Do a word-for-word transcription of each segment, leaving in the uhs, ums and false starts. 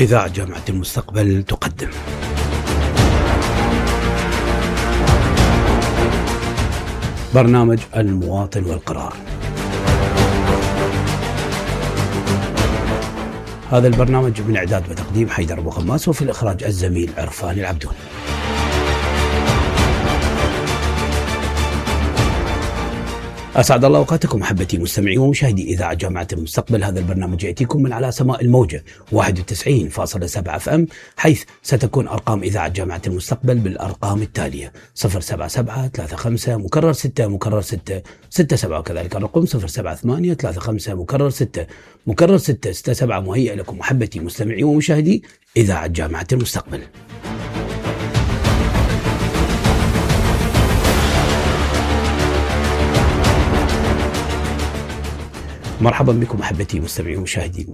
إذاعة جامعة المستقبل تقدم برنامج المواطن والقرار. هذا البرنامج من إعداد وتقديم حيدر أبو خماس، وفي الإخراج الزميل عرفان العبدون. أسعد الله أوقاتكم محبتي مستمعي ومشاهدي إذاعة جامعة المستقبل. هذا البرنامج يأتيكم من على سماء الموجة واحد وتسعين فاصلة سبعة اف ام، حيث ستكون أرقام إذاعة جامعة المستقبل بالأرقام التالية: صفر سبعة سبعة ثلاثة خمسة مكرر ستة مكرر ستة ستة سبعة، وكذلك الرقم صفر سبعة ثمانية ثلاثة خمسة مكرر ستة مكرر ستة ستة سبعة. مهيئ لكم محبتي مستمعي ومشاهدي إذاعة جامعة المستقبل. مرحبا بكم أحبتي مستمعي ومشاهدي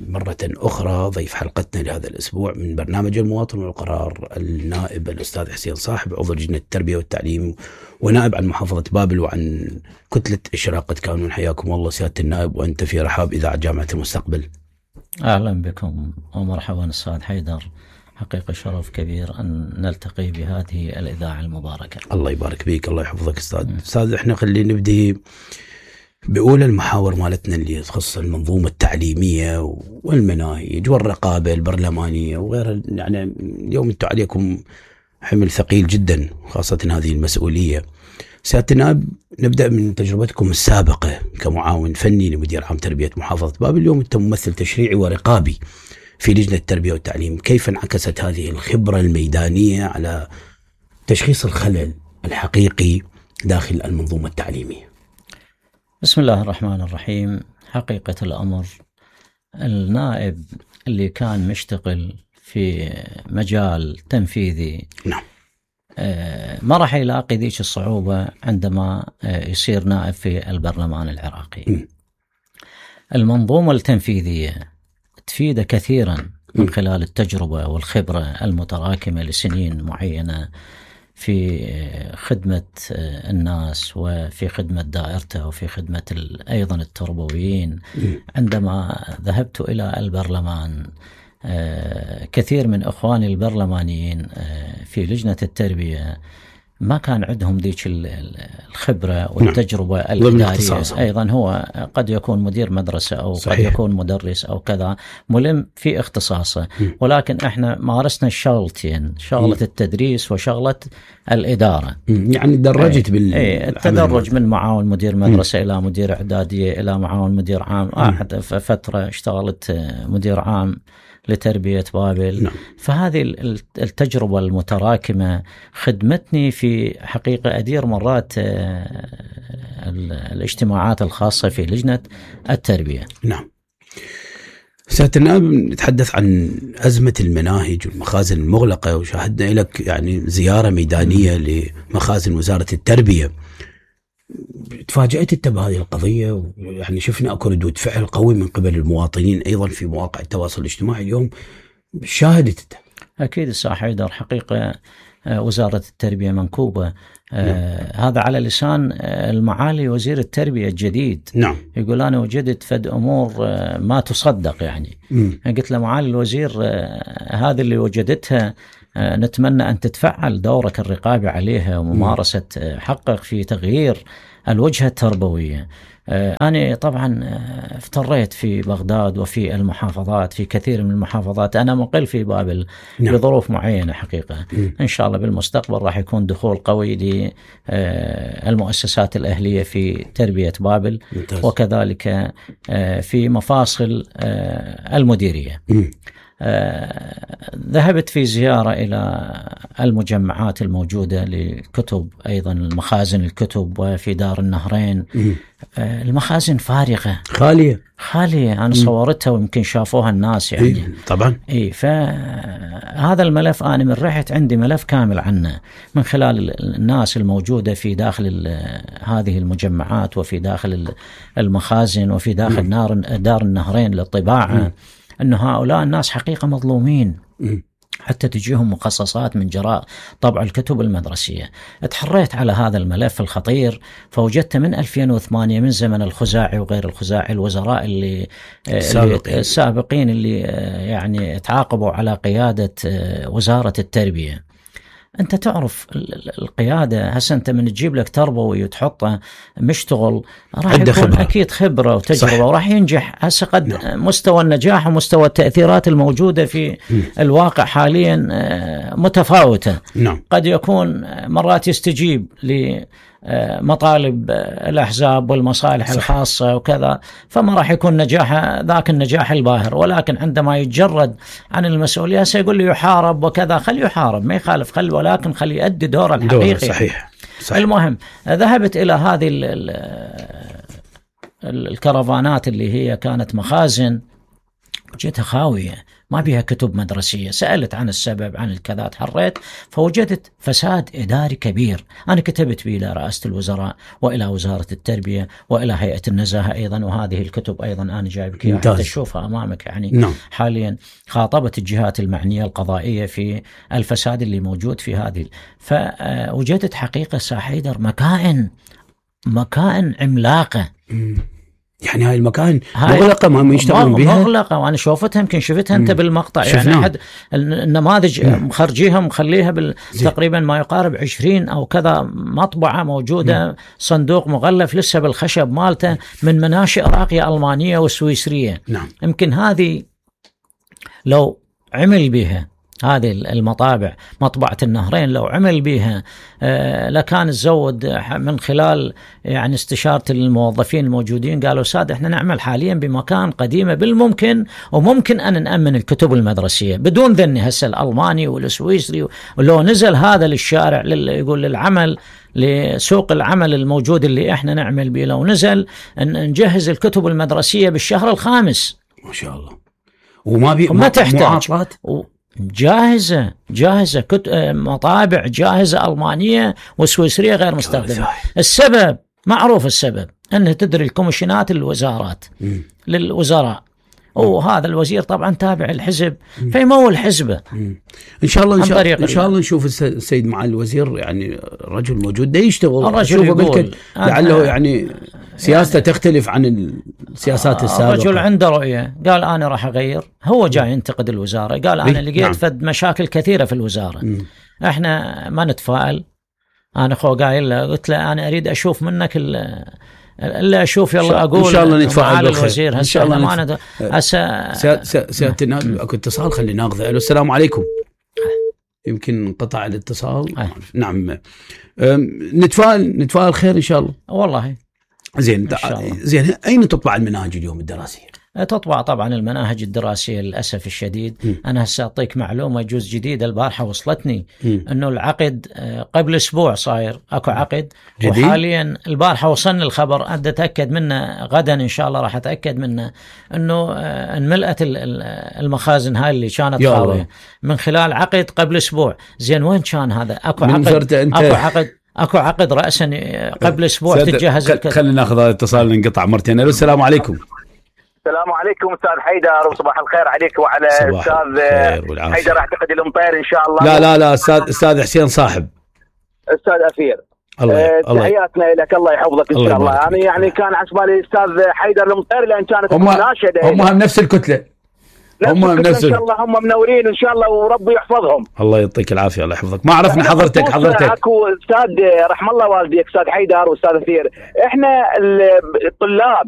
مرة أخرى. ضيف حلقتنا لهذا الأسبوع من برنامج المواطن والقرار النائب الأستاذ حسين صاحب، عضو لجنة التربية والتعليم ونائب عن محافظة بابل وعن كتلة إشراقة كانون. حياكم الله سيادة النائب، وأنت في رحاب إذاعة جامعة المستقبل. أهلا بكم ومرحبا أستاذ حيدر، حقيقة شرف كبير أن نلتقي بهذه الإذاعة المباركة. الله يبارك بيك، الله يحفظك أستاذ. م. أستاذ إحنا خلينا نبدي بأولى المحاور مالتنا اللي تخص المنظومة التعليمية والمناهج والرقابة البرلمانية وغيرها. يعني اليوم انتم عليكم حمل ثقيل جدا، خاصة هذه المسؤولية. سيادة النائب، نبدأ من تجربتكم السابقة كمعاون فني لمدير عام تربية محافظة بابل. اليوم انت ممثل تشريعي ورقابي في لجنة التربية والتعليم. كيف انعكست هذه الخبرة الميدانية على تشخيص الخلل الحقيقي داخل المنظومة التعليمية؟ بسم الله الرحمن الرحيم. حقيقة الأمر النائب اللي كان مشتغل في مجال تنفيذي نعم ما راح يلاقي ذيك الصعوبة عندما يصير نائب في البرلمان العراقي. م. المنظومة التنفيذية تفيد كثيرا من خلال التجربة والخبرة المتراكمة لسنين معينة في خدمة الناس وفي خدمة دائرته وفي خدمة أيضا التربويين. عندما ذهبت إلى البرلمان، كثير من إخواني البرلمانيين في لجنة التربية ما كان عندهم ذيك الخبرة والتجربة الإدارية. أيضا هو قد يكون مدير مدرسة أو صحيح. قد يكون مدرس أو كذا، ملم في اختصاصه، ولكن احنا مارسنا الشغلتين، شغلة التدريس وشغلة الإدارة. يعني درجت بال التدرج من معاون مدير مدرسة م. إلى مدير إعدادية إلى معاون مدير عام. آه فترة اشتغلت مدير عام لتربية بابل. نعم. فهذه التجربة المتراكمة خدمتني في حقيقة أدير مرات الاجتماعات الخاصة في لجنة التربية. نعم. سيادة النائب، نتحدث عن أزمة المناهج والمخازن المغلقة، وشاهدنا لك يعني زيارة ميدانية لمخازن وزارة التربية. تفاجأت انت بهذه القضية، يعني شفنا اكو ردود فعل قوي من قبل المواطنين ايضا في مواقع التواصل الاجتماعي. اليوم شاهدت. اكيد استاذ حيدر، حقيقة وزارة التربية منكوبة. آه هذا على لسان المعالي وزير التربية الجديد. نعم. يقول أنا وجدت فد أمور ما تصدق. يعني م. قلت له معالي الوزير، آه هذا اللي وجدتها آه نتمنى أن تتفعل دورك الرقابي عليها وممارسة آه حقك في تغيير الوجهة التربوية. أنا طبعا افتريت في بغداد وفي المحافظات، في كثير من المحافظات. أنا مقل في بابل نعم. لظروف معينة حقيقة. م. إن شاء الله بالمستقبل راح يكون دخول قوي للمؤسسات الأهلية في تربية بابل ممتاز. وكذلك في مفاصل المديرية. م. ذهبت في زيارة إلى المجمعات الموجودة لكتب، أيضا المخازن الكتب، وفي دار النهرين. م. المخازن فارغة خالية خالية. أنا صورتها ويمكن شافوها الناس يعني. إيه طبعا. إيه فهذا الملف أنا من رحت عندي ملف كامل عنه من خلال الناس الموجودة في داخل هذه المجمعات وفي داخل المخازن وفي داخل م. نار دار النهرين للطباعة. م. أن هؤلاء الناس حقيقة مظلومين. م. حتى تجيهم مخصصات من جراء طبع الكتب المدرسية. تحريت على هذا الملف الخطير فوجدت من ألفين وثمانية من زمن الخزاعي وغير الخزاعي الوزراء اللي السابقين, السابقين اللي يعني تعاقبوا على قيادة وزارة التربية. أنت تعرف القيادة هسه أنت من تجيب لك تربوي وتحطه مشتغل راح يكون خبرة. أكيد خبرة وتجربة صح. وراح ينجح. هسه قد نعم. مستوى النجاح ومستوى التأثيرات الموجودة في م. الواقع حاليا متفاوتة. نعم. قد يكون مرات يستجيب ل مطالب الأحزاب والمصالح صح. الخاصة وكذا، فما راح يكون نجاح ذاك النجاح الباهر. ولكن عندما يتجرد عن المسؤولية سيقول لي يحارب وكذا، خلي يحارب ما يخالف، خل ولكن خلي يؤدي دور الحقيقي. دور صحيح. صحيح. المهم ذهبت إلى هذه ال ال الكرفانات اللي هي كانت مخازن، وجدتها خاوية ما بيها كتب مدرسية. سألت عن السبب عن الكذا، تحريت فوجدت فساد إداري كبير. أنا كتبت به إلى رئاسة الوزراء وإلى وزارة التربية وإلى هيئة النزاهة أيضا، وهذه الكتب أيضا أنا جايبك إياها حتى تشوفها أمامك. يعني نعم. حاليا خاطبت الجهات المعنية القضائية في الفساد اللي موجود في هذه. فوجدت حقيقة ساحيدر مكائن مكائن عملاقة. يعني هاي المكان مغلقة ما يشتغلون بها، مغلقة. وأنا شوفتها يمكن شفتها أنت بالمقطع. شفنا. يعني أحد النماذج مخرجيها مخليها تقريبا ما يقارب عشرين أو كذا مطبعة موجودة. مم. صندوق مغلف لسه بالخشب مالته من مناشئ راقية ألمانية وسويسرية. نعم. يمكن هذه لو عمل بها هذه المطابع، مطبعة النهرين، لو عمل بها آه لكان الزود من خلال يعني استشارة الموظفين الموجودين. قالوا ساد احنا نعمل حاليا بمكان قديمة بالممكن وممكن أن نأمن الكتب المدرسية بدون ذني. هسه الألماني والسويسري ولو نزل هذا للشارع يقول للعمل لسوق العمل الموجود اللي احنا نعمل به، لو نزل نجهز الكتب المدرسية بالشهر الخامس ما شاء الله وما بي ما تحتاج جاهزة جاهزة كت... مطابع جاهزة ألمانية وسويسرية غير مستخدمة. السبب معروف، السبب أنه تدري الكوميشنات الوزارات م. للوزراء، وهذا الوزير طبعا تابع الحزب فيمول حزبه. ان شاء الله ان شاء, إن شاء الله نشوف السيد مع الوزير يعني رجل موجود ده يشتغل. الرجل يقول لعله يعني سياسته يعني تختلف عن السياسات السابقة. الرجل عنده رؤية، قال أنا راح أغير. هو جاي ينتقد الوزارة، قال أنا لقيت نعم. فد مشاكل كثيرة في الوزارة. م. احنا ما نتفائل. أنا أخو قايل له، قلت له أنا أريد أشوف منك إلا أشوف يلا أقول إن شاء الله نتفائل بالخير إن شاء الله. ما هسه سيادة أكو اتصال خلينا ناخذه. ألو السلام عليكم. يمكن قطع الاتصال. أه. نعم نتفائل نتفائل خير إن شاء الله والله. زين زين أين تطبع المناهج اليوم الدراسية؟ تطبع طبعا المناهج الدراسية للأسف الشديد. م. أنا هسه أعطيك معلومة جزء جديد البارحة وصلتني. م. أنه العقد قبل أسبوع صاير أكو عقد جديد. وحاليا البارحة وصلنا الخبر أدى أتأكد منه غدا إن شاء الله راح أتأكد منه أنه انملأت المخازن هاي اللي كانت خاوية من خلال عقد قبل أسبوع. زين وين كان هذا؟ أكو عقد أكو عقد أكو عقد رأسا قبل أسبوع تتجهز. خلينا ناخذ هذا الاتصال ننقطع مرتين. السلام عليكم. السلام عليكم استاذ حيدر وصباح الخير عليك وعلى استاذ حيدر اعتقد المطير ان شاء الله. لا لا لا استاذ استاذ حسين صاحب. استاذ اثير. الله تحياتنا لك الله يحفظك ان شاء الله. انا يعني, يعني كان عسبالي استاذ حيدر المطير لان كانت هم مناشده. هم هم نفس الكتله. هم نفس ان شاء الله هم منورين ان شاء الله وربي يحفظهم. الله يعطيك العافيه الله يحفظك. ما عرفنا حضرتك حضرتك. اكو استاذ رحم الله والديك استاذ حيدر واستاذ اثير. احنا الطلاب